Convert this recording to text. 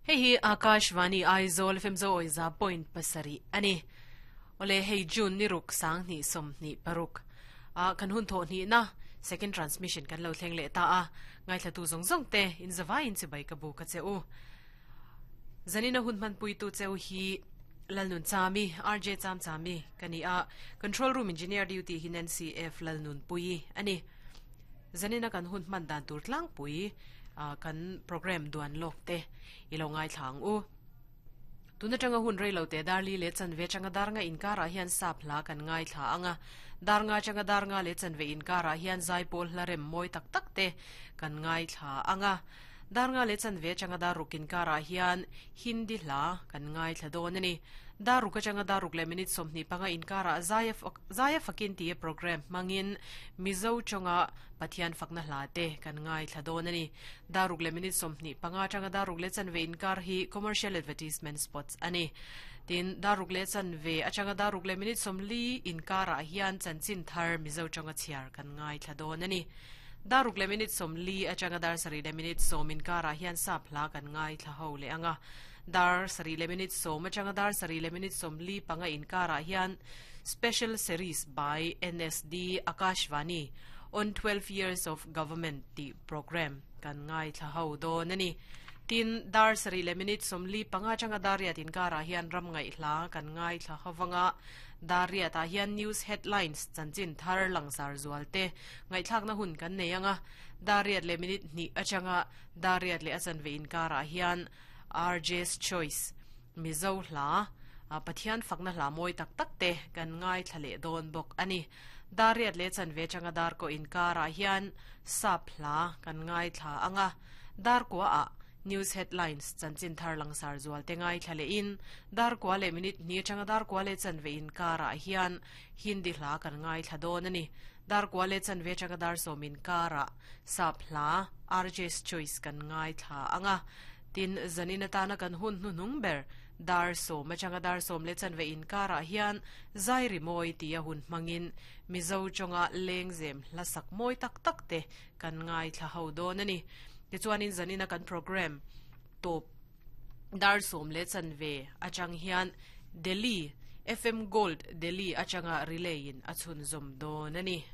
Hei hi Akashvani Aizawl FM Zo Awiza point pasarih a ni. Awle hei June ni ruk 20 26 a kan hun thawh hnihna second transmission kan lo thleng leh ta a. Ngaithlatu zawng zawng te in zavaiin chibai ka bu ka che u. Zanina hun hmanpuitu cheu hi Lalnun Chami, RJ Cham Chami ka ni a. Control room engineer duty hi Nancy F Lalnunpuii a ni. Zanina kan hun hman dan tur tlangpui kan program duan lawk te i lo ngaithla ang u. Tun atanga hun rei lo te dar li leh chanve atanga dar nga inkarah hian sap hla kan ngaithla ang a. Dar nga atanga dar nga leh chanve inkarah hian zaipawl hla rem mawi tak tak te kan ngaithla ang a. Dar nga leh chanve atanga dar ruk inkarah hian Hindi hla kan ngaithla dawn a ni. Dar ruk atanga dar ruk leh minute 25 inkarah Zaia Zaia Fakin tia program hmangin Mizo tawnga Pathian fakna hla te kan ngaithla dawn a ni. Dar ruk leh minute 25 atanga dar ruk leh chanve inkar hi commercial advertisement spots a ni. Tin, dar ruk leh chanve atanga dar ruk leh minute 40 inkarah hian chanchin thar Mizo tawnga chhiar kan ngaithla dawn a ni. Dar ruk leh minute 40 atanga dar sarih leh minute 10 inkarah hian sap hla kan ngaithla ho leh ang a. Dar sarih leh minute 10 atanga dar sarih leh minute 45 inkarah hian Special Series by NSD Akashvani on 12 Years of Government tih program kan ngaithla ho dawn a ni. Tin, dar sarih leh minute 45 atanga dar riat inkarah hian ram ngaihhla kan ngaithla hovanga dar riatah hian news headlines chanchin thar langsar zual te ngaihthlakna hun kan nei anga dar riat leh minute hnih atanga dar riat leh a chanve inkarah hian RJ's Choice Mizo hla Pathian fakna hla mawi tak tak te kan ngaithla leh dawn bawk a ni. Dar riat leh chanve atanga dar kaw inkarah hian sap hla kan ngaithla anga dar kua ah news headlines chanchin thar langsar zual te ngaithla leh in dar kua leh minute hnih atanga dar kua leh chanve inkarah hian Hindi hla kan ngaithla dawn a ni. Dar kua leh chanve atanga dar sawm inkarah sap hla RJ's Choice kan ngaithla anga tin zanin atana kan hun hnuhnung ber dar sawm atanga dar sawm leh chanve inkarah hian zai ri mawi tia hun hmangin Mizo tawnga lengzem hla sak mawi tak tak te kan ngaithla ho dawn a ni. Tichuanin zanina kan program tawp dar sawm leh chanve atang hian Delhi FM Gold Delhi atanga relay in a chhunzawm dawn a ni.